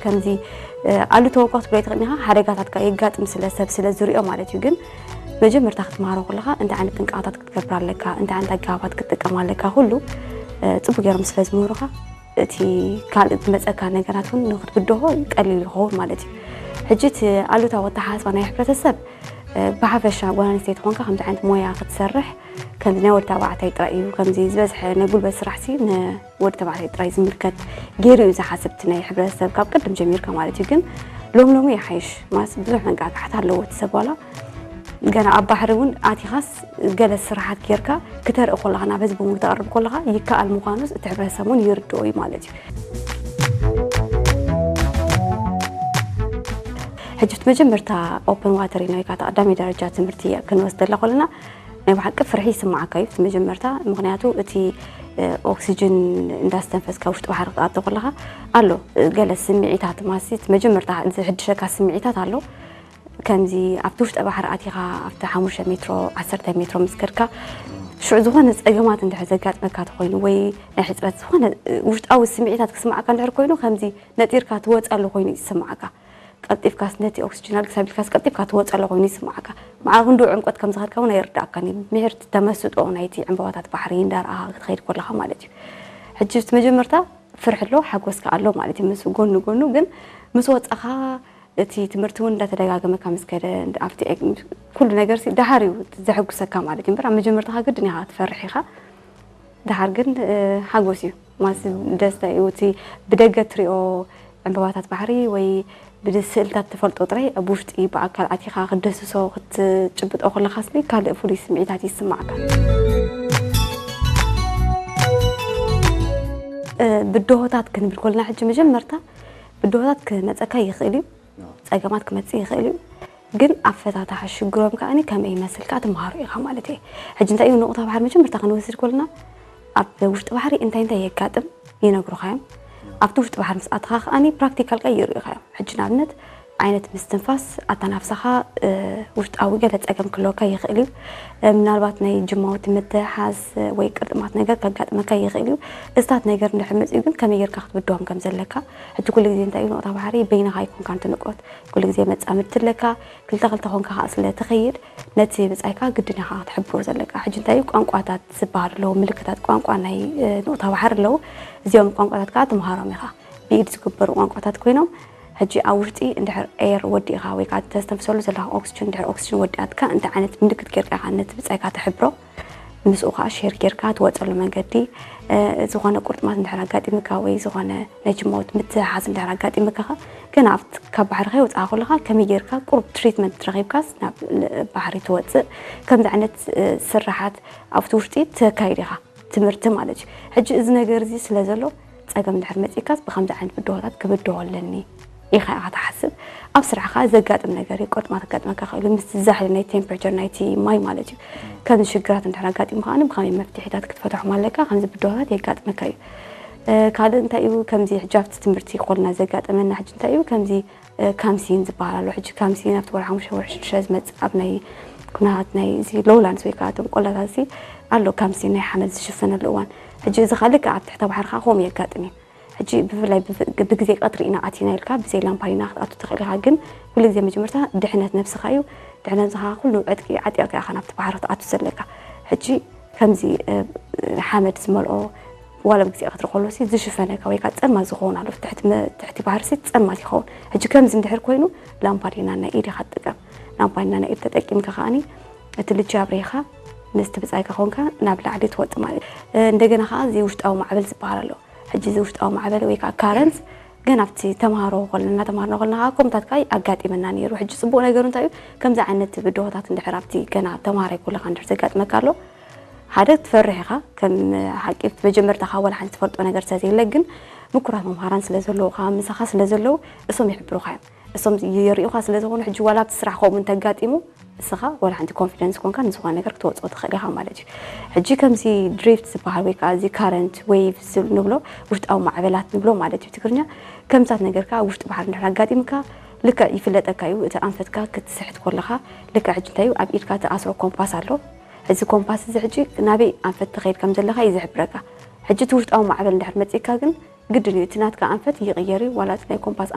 ከምዚ ኣሉታዊ እኳ ክትብሎ ኣይትኽእልን ኢኻ። ሓደጋታት ከኣ የጋጥም ስለ ሰብ ስለ ዝሪኦ ማለት እዩ። ግን መጀመርታ ክትመሃሮ ከለኻ እንታይ ዓይነት ጥንቃቐታት ክትገብር ኣለካ፣ እንታይ ዓይነት ኣገባባት ክትጥቀም ኣለካ፣ ኩሉ ጽቡቅ ገይሮም ስለ ዝምህሩኻ እቲ ካልእ ዝመጸካ ነገራት እውን ንክትብድሆ ቀሊል ይኸውን ማለት እዩ። ሕጂ እቲ ኣሉታዊ ኣተሓሳስባ ናይ ሕብረተሰብ ብሓፈሻ ጓል ኣንስተይቲ ኮንካ ከምዚ ዓይነት ሞያ ክትሰርሕ ከምዚ ናይ ወዲ ተባዕታይ ጥራይ እዩ፣ ከምዚ ዝበዝሐ ናይ ጉልበት ስራሕሲ ንወዲ ተባዕታይ ጥራይ ዝምልከት ገይሩ እዩ ዝሓስብ እቲ ናይ ሕብረተሰብ ካብ ቅድም ጀሚርካ ማለት እዩ። ግን ሎም ሎሚ ይሓይሽ ማስ ብዙሕ መንቃቃሕታ ኣለዎ እቲ ሰብ ዋላ ገና ኣብ ባሕሪ እውን ኣቲኻስ ገለ ስራሓት ጌርካ ክተርኢ ከለኻ ናብ ህዝቢ እውን ክተቕርብ ከለኻ ይከኣል ምዃኑስ እቲ ሕብረተሰብ እውን ይርድኦ እዩ ማለት እዩ። ሕጂ እቲ መጀመርታ ኦፕን ዋተር ኢና ወይ ከዓ ቀዳማይ ደረጃ ትምህርቲ ክንወስደላ ከለና ናይ ብሓቂ ፍርሒ ይስምዓካ እዩ እቲ መጀመርታ። ምኽንያቱ እቲ ኦክሲጅን እንዳስተንፈስካ ውሽጢ ባሕሪ ክትኣቶ ከለኻ ኣሎ ገለ ስምዒታት ማሲ እቲ መጀመርታ ዝሕድሸካ ስምዒታት ኣሎ። ከምዚ ኣብቲ ውሽጢ ባሕሪ ኣቲኻ ኣብቲ ሓሙሽተ ሜትሮ ዓሰርተ ሜትሮ ምስ ከድካ ሽዑ ዝኾነ ፀገማት እንድሕር ዘጋጥመካ ተኮይኑ ወይ ናይ ሕፅረት ዝኾነ ውሽጣዊ ስምዒታት ክስምዓካ እንድሕር ኮይኑ ከምዚ ነጢርካ ትወፀሉ ኮይኑ ይስምዓካ። ቀልጢፍካስ ነቲ ኦክሲጅን ኣልግስ ኣቢልካስ ቀልጢፍካ ትወፀሉ ኮይኑ ይስምዓካ። መዓር ክንድኡ ዕምቆት ከም ዝኸድካ እውን ኣይርዳእካን እዩ። ምሕርቲ ተመስጦ ናይቲ ዕምበባታት ባሕሪ እንዳረኣኻ ክትኸይድ ከለኻ ማለት እዩ። ሕጂ እቲ መጀመርታ ፍርሒ ኣሎ፣ ሓጎስ ከኣ ኣሎ ማለት እዩ። ምስ ጎኑ ጎኑ ግን ምስ ወጻኻ እቲ ትምህርቲ እውን እንዳተደጋገመካ ምስ ከደ እንዳ- ኣብቲ ኤግ- ኩሉ ነገር ሲ ደሓር እዩ ዘሐጉሰካ ማለት እዩ። እምበር ኣብ መጀመርታኻ ግድን ኢኻ ትፈርሕ ኢኻ። ደሓር ግን ሓጎስ እዩ ማለት ደስታ እዩ። እቲ ብደገ ትሪኦ ዕምበባታት ባሕሪ ወይ ብስእልታት ትፈልጦ ጥራይ ኣብ ውሽጢ ብኣካል ኣቲኻ ክትደስሶ ክትጭብጦ ከለኻስ ካልእ ፍሉይ ስምዒታት ይስማዕካ። ብድሆታት ክንብል ከለና ሕጂ መጀመርታ ብድሆታት ክመፀካ ይኽእል እዩ። ፀገማት ክመፅእ ይኽእል እዩ። ግን ኣፈታትሓ ሽግሮም ከኣ ከመይ ይመስል ከኣ ትምሃሮ ኢኻ ማለት እየ። ሕጂ እንታይ እዩ ንቑታ ባሕሪ መጀመርታ ክንወስድ ከለና ኣብ ውሽጢ ባሕሪ እንታይ እንታይ የጋጥም ይነግሩኻ እዮም። ኣብቲ ውሽጢ ባሕሪ ምስ ኣተኻ ከኣ ፕራክቲካል ከኣ የርእዩኻ እዮም። ሕጂ ንኣብነት ዓይነት ምስትንፋስ ኣተናፍሳኻ ውሽጣዊ ገለ ፀገም ክህልወካ ይኽእል እዩ። ምናልባት ናይ ጅማውቲ ምትሕሓዝ ወይ ቅርጥማት ነገር ከጋጥመካ ይኽእል እዩ። እዝታት ነገር እንድሕር መፅኡ ግን ከመይ ጌርካ ክትብድሆም ከም ዘለካ ሕጂ ኩሉ ግዜ እንታይ እዩ ንቑታ ባሕሪ በይንኻ ኣይኮንካን ትንቆት። ኩሉ ግዜ መጻምድቲ ኣለካ። ክልተ ክልተ ኮንካ ከኣ ስለ ትኸይድ ነቲ ብጻይካ ግድን ኢኻ ክትሕብሮ ዘለካ። ሕጂ እንታይ እዩ ቋንቋታት ዝበሃል ኣለዉ፣ ምልክታት ቋንቋ ናይ ንቑታ ባሕሪ ኣለዉ። እዚኦም ቋንቋታት ከኣ ትምሃሮም ኢኻ። ብኢድ ዝግበሩ ቋንቋታት ኮይኖም ሕጂ ኣብ ውሽጢ እንድሕር ኤር ወዲእኻ ወይ ከኣ ተስተንፍሰሉ ዘለኻ ኦክስጅን እንድሕር ኦክስጅን ወዲኣትካ እንታይ ዓይነት ምልክት ጌርካ ኢኻ ነቲ ብጻይካ ትሕብሮ። ምስኡ ከዓ ሼር ጌርካ ትወፀሉ መንገዲ ዝኾነ ቁርጥማት እንድሕር ኣጋጢምካ ወይ ዝኾነ ናይ ጅማውት ምትሕሓዝ እንድሕር ኣጋጢምካ ግን ኣብቲ ካብ ባሕሪ ከይወፅኣ ከለካ ከመይ ጌርካ ቁሩብ ትሪትመንት ረኪብካስ ናብ ባሕሪ ትወፅእ ከምዚ ዓይነት ስራሓት ኣብቲ ውሽጢ ተካይድ ኢኻ ትምህርቲ ማለት እዩ። ሕጂ እዚ ነገር እዚ ስለ ዘሎ ፀገም እንድሕር መፂእካስ ብከምዚ ዓይነት ብድሆታት ክብድሆ ኣለኒ ኢኻ ኢኻ ትሓስብ። ኣብ ስራሕኻ ዘጋጥም ነገር እዩ። ቁርጥማት ከጋጥመካ ይኽእል እዩ። ምስቲ ዛሕሊ ናይ ቴምፕሬቸር ናይቲ ማይ ማለት እዩ። ከምዚ ሽግራት እንድሕር ኣጋጢሙ ከኣ ብኸመይ መፍትሒታት ክትፈትሖም ኣለካ። ከምዚ ብድሆታት የጋጥመካ እዩ። ካልእ እንታይ እዩ ከምዚ ሕጂ ኣብቲ ትምህርቲ ኮልና ዘጋጠመና ሕጂ እንታይ እዩ ከምዚ ካምሲን ዝበሃል ኣሎ። ሕጂ ካምሲን ኣብቲ ወርሒ ሓሙሽተ ወርሒ ሽዱሽተ ዝመፅእ ኣብ ናይ ኩነታት ናይ እዚ ሎውላንድስ ወይ ከዓ እቶም ቆላታት ኣሎ ካምሲን ናይ ሓመድ ዝሽፈነሉ እዋን። ሕጂ እዚ ከዓ ልክዕ ኣብ ትሕተ ባሕሪ ከዓ ከምኡ የጋጥም እዩ። ሕጂ ብፍላይ ብግዜ ቀትሪ ኢና ኣቲና ኢልካ ብዘይ ላምፓዲና ክትኣቱ ትኽእል ኢኻ። ግን ኩሉ ግዜ መጀመርታ ድሕነት ነብስኻ እዩ። ድሕነት ነብስኻ ኩሉ ዕጥቂ ዓጢቕካ ኢኻ ናብቲ ባሕሪ ክትኣቱ ዘለካ። ሕጂ ከምዚ ሓመድ ዝመልኦ ዋላ ብግዜ ቀትሪ ከሎ ሲ ዝሽፈነካ ወይ ከዓ ጸልማት ዝኸውን ኣሎ ትሕቲ ባሕሪ ሲ ጸልማት ይኸውን። ሕጂ ከምዚ እንድሕር ኮይኑ ላምፓዲና ናይ ኢድ ኢኻ ትጥቀም። ላምፓዲና ናይ ኢድ ተጠቂምካ ከዓኒ እቲ ልጂ ኣብሪኻ ምስቲ ብጻይካ ኮንካ ናብ ላዕሊ ትወጽእ ማለት እዩ። እንደገና ከዓ እዚ ውሽጣዊ ማዕበል ዝበሃል ኣሎ። ሕጂ እዚ ውሽጣዊ ማዕበል ወይ ከዓ ካረንት ግን ኣብቲ ተምሃሮ ከለና እናተምሃርና ከለና ከዓ ከምታት ከዓ ኣጋጢመና ነይሩ። ሕጂ ፅቡቅ ነገሩ እንታይ እዩ ከምዚ ዓይነት ብድሆታት እንድሕር ኣብቲ ገና ተምሃራይ ከለካ እንድሕር ዘጋጥመካ ኣሎ ሓደ ትፈርሕ ኢኻ ከም ሓቂ መጀመርታ ካብ ዋላ ሓንቲ ትፈልጦ ነገር ስለዘየለ ግን ምኩራት መምሃራን ስለዘለውካ ምሳኻ ስለዘለዉ እሶም ይሕብሩኻ እዮም። እሶም የርእዩኻ ስለዝኾኑ ሕጂ ዋላ ኣብቲ ስራሕ ከምኡ እንተጋጢሙ እስኻ ዋላ ሓንቲ ኮንፊደንስ ኮንካ ንዝኾነ ነገር ክትወፅኦ ትኽእል ኢኻ ማለት እዩ። ሕጂ ከምዚ ድሪፍት ዝበሃል ወይ ከዓ እዚ ካረንት ዌቭ ንብሎ ውሽጣዊ ማዕበላት ንብሎ ማለት እዩ ትግርኛ ከምታት ነገር ከዓ ውሽጢ ባሕሪ እንድሕር ኣጋጢምካ ልክዕ ይፍለጠካ እዩ እቲ ኣንፈትካ ክትስሕት ከለኻ ልክዕ ሕጂ እንታይ እዩ ኣብ ኢድካ ትኣስሮ ኮምፓስ ኣሎ። እዚ ኮምፓስ እዚ ሕጂ ናበይ ኣንፈት ትኸይድ ከም ዘለኻ እዩ ዝሕብረካ። ሕጂ እቲ ውሽጣዊ ማዕበል እንድሕር መፂእካ ግን ግድን እዩ እቲ ናትካ ኣንፈት ይቕየር እዩ ዋላ እቲ ናይ ኮምፓስ